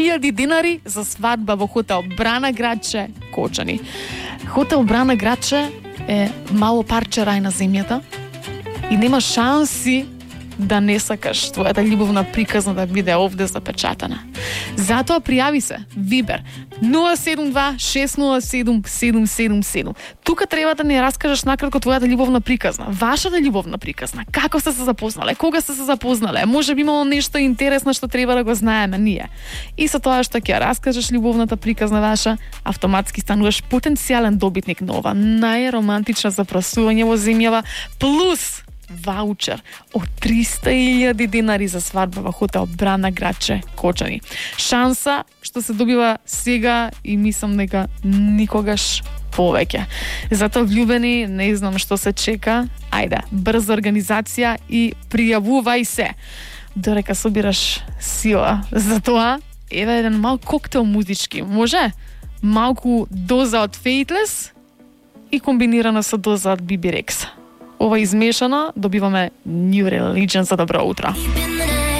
1000 денари за свадба во хотел Брана Градче, Кочани. Хотел Брана Градче е мало парче рај на земјата и нема шанси да не сакаш твојата љубовна приказна да биде овде запечатана. Затоа пријави се, Вибер 072-607-777. Тука треба да ни раскажеш накратко твојата љубовна приказна, вашата љубовна приказна. Како сте се запознале, кога сте се запознале, може би имало нешто интересно што треба да го знаеме ние. И со тоа што ќе раскажеш љубовната приказна ваша, автоматски стануваш потенцијален добитник на ова најромантична запрашување во земјава, плюс ваучер од 300.000 денари за свадба во хотел Брана Градче, Кочани. Шанса што се добива сега и мислам дека никогаш повеќе. Затоа влюбени, не знам што се чека. Ајде, брза организација и пријавувај се. Дорека собираш сила. Затоа, еве еден мал коктел музички. Може? Малку доза од Faithless и комбинирана со доза од BB Rexa. Ова измешано добиваме New Religion за добро утро.